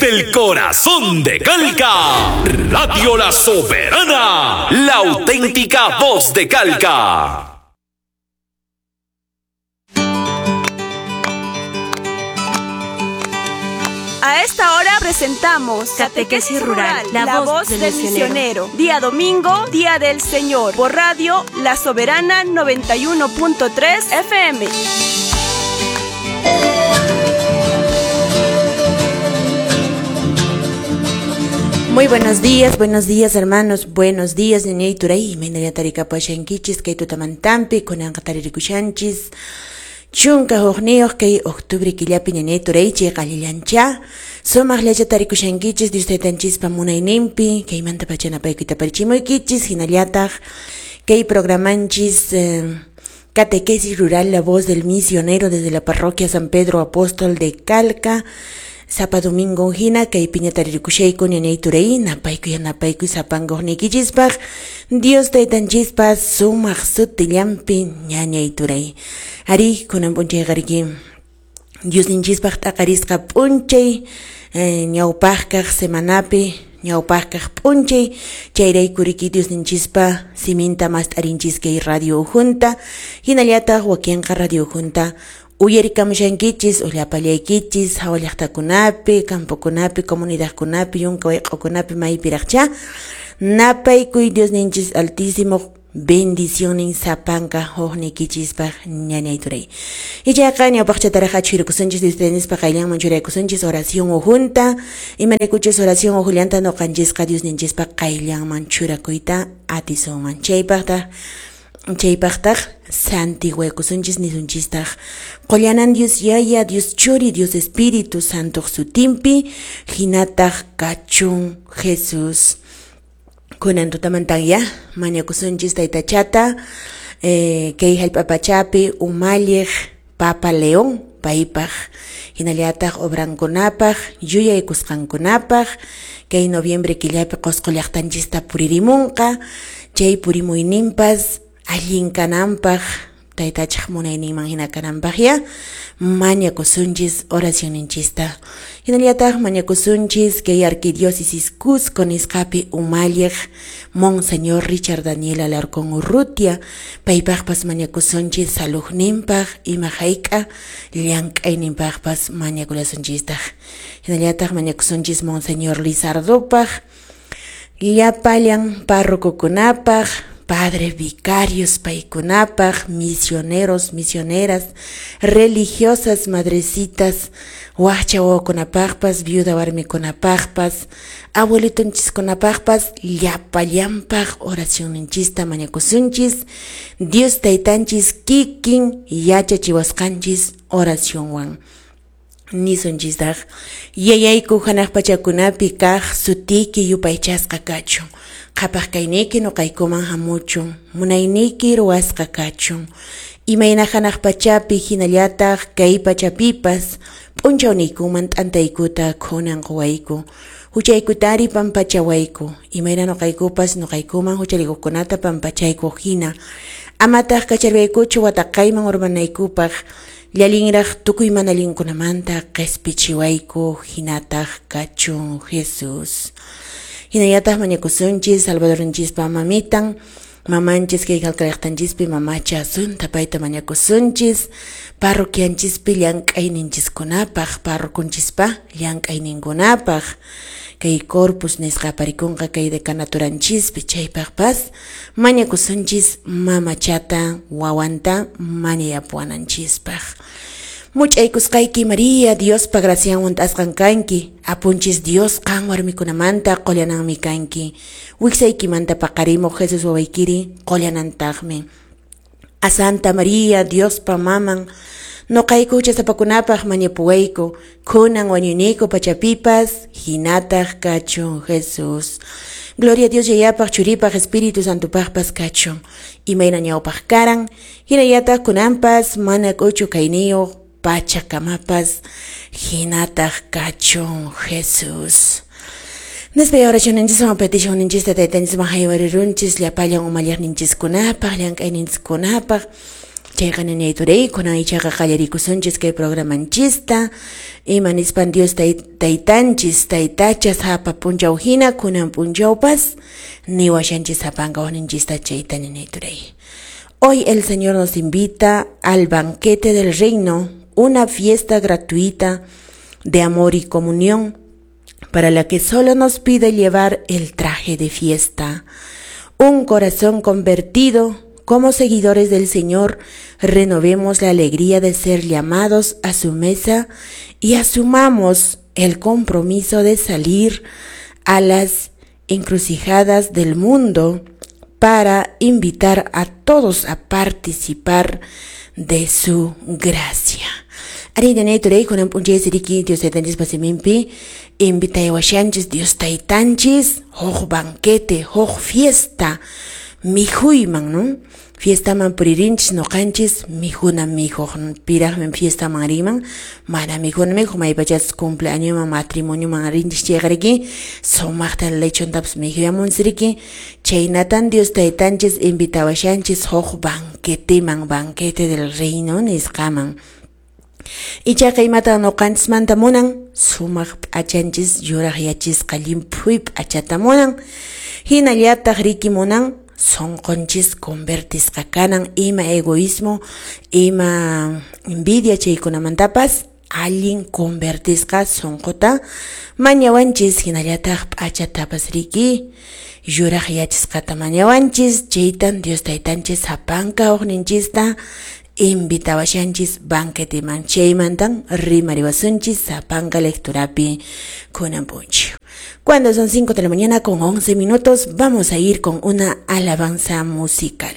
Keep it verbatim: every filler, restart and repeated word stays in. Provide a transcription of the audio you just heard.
Desde el corazón de Calca, Radio La Soberana, la auténtica voz de Calca. A esta hora presentamos Catequesis Rural, la, la voz, voz del, del misionero. misionero. Día domingo, Día del Señor, por Radio La Soberana noventa y uno punto tres F M. Muy buenos días, buenos días hermanos, buenos días, ñañay turay, imaynalla tarikapashankichis, kay tutamantampi, kunanqa taririkushanchis, chunka hukniyuq kay octubre killapi ñañay turay, chay qallillancha, sumaqllacha tarikushankichis, Dios taytanchispa munayninpi, kaymanta pachanapaykuyta parichimuykichis, hinallataq kay programanchis eh, Catequesis Rural, la voz del misionero desde la parroquia San Pedro Apóstol de Calca, Sapa domingo hina kay piña taririkushayku ñañay turay napaykuy yanapaykuy sapankuqniykichispaq Dios taytanchispa sumaq sutillanpi ñañay turay. Ari kunan p'unchayqariki Diosninchispaq t'aqarisqa p'unchay eh, ñawpaqkaq semanapi ñawpaqkaq p'unchay chayraykuriki Diosninchispa siminta mast'arinchis kay radio junta hinallataq wakinqa radio junta uyarikamushankichis ullapallaykichis hawa llaqtakunapi, campokunapi, comunidadkunapi, yunka wayq'ukunapi maypiraqcha napaykuy Diosninchis altísimo bendicionin sapanka hukniykichispaq ñañay turay. Ichaqa ñawpaqchataraq achhirikusunchis Dios taytanchispa qayllanman churaykusunchis oración ujunta, imaraykuchis oración ujullanta nuqanchisqa Diosninchispa qayllanman churakuyta atisunman. Chaypaqtaq chaypaqtaq santiguaykusunchis nisunchistaq qollanan Dios Yaya, Dios Churi, Dios Espíritu Santo sutinpi hinataq kachun Jesús. Kunan tutamantan ya mañakusunchis taytachata eh, kay hallp'apachapi umalliq Papa León paypaq hinallataq obrankunapaq yuyaykusqankunapaq kay noviembre killapi Qosqo llaqtanchista puririmunqa chay purimuyninpas allin kananpaq taytachaq munayninman hina kananpaq ya mañakusunchis oracionninchista hinallataq mañakusunchis kay arquidiócesis Cusco nisqapi umalliq Monseñor Richard Daniel Alarcón Urrutia paypaqpas mañakusunchis salujninpaq ima hayk'a llank'ayninpaqpas mañakulasunchistaq hinallataq mañakusunchis Monseñor Lizardopaq llapallan párrocokunapaq padres vicarios paykunapaq, misioneros, misioneras, religiosas, madrecitas, waqcha wawakunapaqpas, viuda warmikunapaqpas, abuelitonchiskunapaqpas, llapallanpaq oracionninchista mañakusunchis, Dios taytanchis kikin yachachiwasqanchis oracionwan. Nisunchistaq, yayayku hanaq pachakunapi kaq sutiyki yupaychasqa kachun. Qhapaq kayniyki nuqaykuman hamuchun, munayniyki ruwasqa kachun. Imayna hanaq pachapi hinallataq kay pachapipas p'unchawniykuman t'antaykuta kunan quwayku. Huchaykutari pampachawayku, imayna nuqaykupas nuqaykuman huchallikuqkunata pampachayku hina. Amataq kacharwaykuchu wataqayman urmanaykupaq, llalinraq tukuy mana allinkunamanta qispichiwayku hinataq kachun Jesús. Hinallataq mañakusunchis Salvadorunchispa mamitan, mamanchis kay Calcallaqtanchispi mamacha Asunta payta mañakusunchis, parroquianchispi llank'ayninchiskunapaq, parrocunchispa llank'ayninkunapaq, kay corpus nisqa aparikunqa kay decanaturanchispi chaypaqpas mañakusunchis mamachata wawanta mañayapuwananchispaq. Much'aykusqayki María, Diospa gracianwan t'asqan kanki, apunchis Dios qan warmikunamanta qullananmi kanki, wiksaykimanta paqarimuq Jesús wawaykiri qullanantaqmi. A Santa María, Diospa maman, nuqayku huchasapakunapaq mañapuwayku, kunan wañuyniyku pachapipas, hinataq kachun Jesús. Gloria a Dios yayapaq, churipaq, Espíritu Santopaqpas kachun. Imayna ñawpaq karan, hinallataq kunanpas, mana k'uchu kayniyuq pachakamapas, hinataq kachun Jesús. Nespay oracionninchiswan peticionninchista taytanchisman haywarirunchis llapallan umalliqninchiskunapaq, llank'ayninchiskunapaq, Chayqa ñañay turay, kunan ichaqa qallarikusunchis kay programanchista. Ima nispan Dios taytanchis, taytacha sapa punchaw hina kunan punchawpas niwashanchis sapanka waqninchista chayta ñañay turay. Hoy el Señor nos invita al banquete del reino, una fiesta gratuita de amor y comunión, para la que solo nos pide llevar el traje de fiesta. Un corazón convertido. Como seguidores del Señor, renovemos la alegría de ser llamados a su mesa y asumamos el compromiso de salir a las encrucijadas del mundo para invitar a todos a participar de su gracia. Arí turay kunan p'unchay riki Dios taytanchispa siminpi invitayawashanchis Dios taytanchis huk banquete, huk fiesta mikhuyman, ¿no? Fiestaman puririnchis noqanchis mikhuna mikhuq, piraqmi fiestaman riman, mana mikhuna mikhuq, maypachas cumpleañoman matrimonioman rinchis chayqa riki sumaqta lechontapas mikhuyamunchis riki, chaynatan Dios taytanchis invitawashanchis huk banqueteman, banquete del reino nisqaman. Ichaqa imatan noqanchismanta munan, sumaq p'achanchis yuraqyachisqa llimphuy p'achata munan, hinallataq riki munan sonqonchis convertisqa kanan, ima egoísmo, ima envidia chaykunamantapas allin convertisqa sonqota mañawanchis, hinallataq p'achatapas riki yuraqyachisqata mañawanchis, chaytan Dios taytanchis sapanka uqninchista invitawashanchis banqueteman, chaymantan rimariwasunchis sapanka lecturapi kunan p'unchaw. Cuando son cinco de la mañana con once minutos, vamos a ir con una alabanza musical.